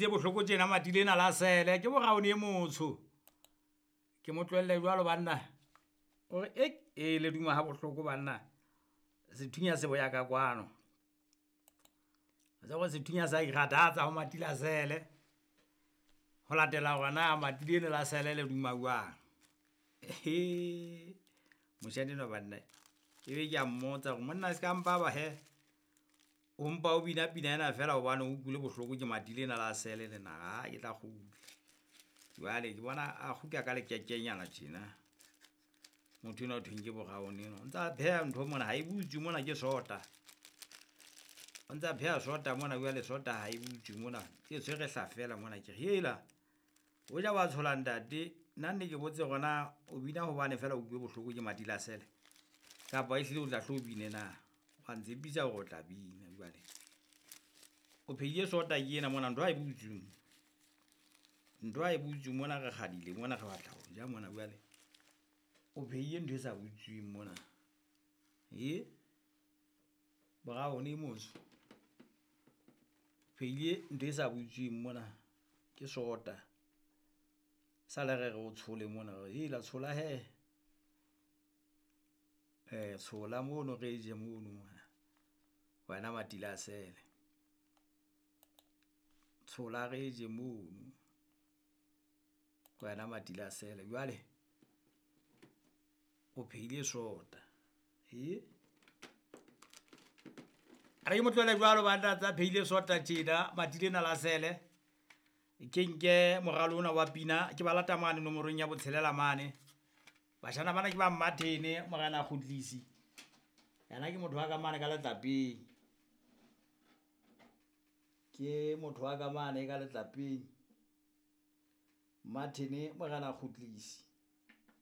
Utlwisitse bohloko tjena mati lena la sele ke boraone e motsho. Ke mo tlohelle jwalo banna. O re ek e le duma ha bohloko banna. Sethunya se boya ka kwano. Se go sethunya sa ikgathatsa ho mati la sele. Ho latela hore na mati lena la sele le duma jwang. Moshanyana enwa banna, ebe ke a mmotsa hore monna ska mpa ba hee o mpa o bina pina ena feela hobane o utlwile bohloko ke mati lena la sele lena. Ha ke tla kgutla. Jwale ke bona a kgutla ka lekekenyana tjena. Motho enwa ho thweng ke Brown enwa. O ntsa pheha ntho mona ha e butswe mona ke sota. O ntsa pheha sota mona jwale sota ha e butswe mona. E tshwere hlafela mona. Ke re hela, o ja wa tshola ntate. Nna nne ke botse hore na o bina hobane feela o utlwile bohloko ke mati la sele, kapa ehlile o tla hlo o bine na? Wa ntshepisa hore o tla bina jwale. O phehile sota ke ena mona, ntho ha e butswe. Ntho ha e butswe mona, re kgadile mona, re batla ho ja mona jwale. O phehile ntho e sa butsweng mona. E Brown e motsho. Phehile ntho e sa butsweng mona, ke sota. Sa le re re o tshole mona, re hela tshola hee. Tshola mono re je mono mona, wena mati la sele. Tshola re je mono, wena mati la sele. Jwale o phehile sota. E a re ke mo tlohele jwalo banna tsa phehile sota tjena mati lena la sele. Ke nke moralo ona wa pina ke ba lata mane nomorong ya botshelela mane. Bashana bana ke ba Mmathene, morena Kgutlisi. Yena ke motho wa ka mane ka letlapeng. Ke motho wa ka mane ka letlapeng. Mmathene morena Kgutlisi.